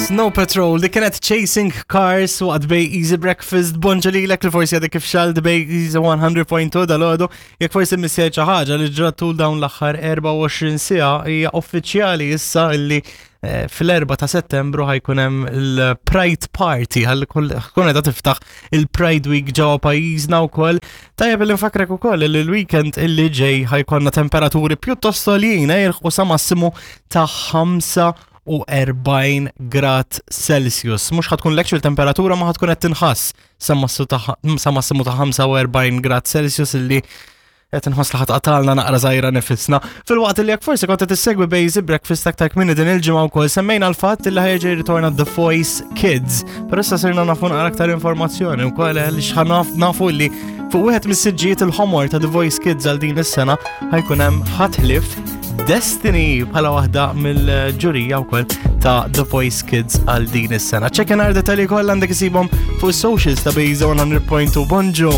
Snow Patrol li kienet Chasing Cars waqt Bay Easy Breakfast. Bonġu lilek li forsi għadek kif xalt Bay Easy 100.2 dal-għodu. Jekk forsi missejt xi ħaġa li ġrat tul dawn l-aħħar 24 siegħa hija uffiċjali issa illi eh, fl-4 ta' Settembru ħajkun hemm il-Pride Party ħalli tkun qiegħda tiftaħ il-Pride Week ġewwa pajjiżna wkoll. Tajjeb li nfakrek ukoll li l-weekend illi ġej ħajkonna temperaturi pjuttost għoljin eh, jilħqu sa massimu ta' 45 grad Celsius. Mhux ħatkun l-actual temperatura ma ħatkun qed tinħass sa massimu ta' 45 grad Celsius illi qed inħoss li ħatqatalna naqra żgħira nifisna. Filwaqt li jekk forsi kont qed issegwi Basic Breakfast aktar kmieni din il-ġimgħa wkoll semmejna l-fatt li ħajġi ritorna The Voice Kids. Però issa sirna nafu naqra aktar informazzjoni wkoll għaliex nafu li fuq wieħed mis-siġġijiet il-ħomor ta' The Voice Kids għal din is-sena ħajkun hemm ħadd Destiny bħala waħda mill-ġurija wkoll ta' The Voice Kids għal din is-sena. Ċekken għar detalji kollha għandek isibhom fuq socials ta' Bejza 100.2 Bonġu.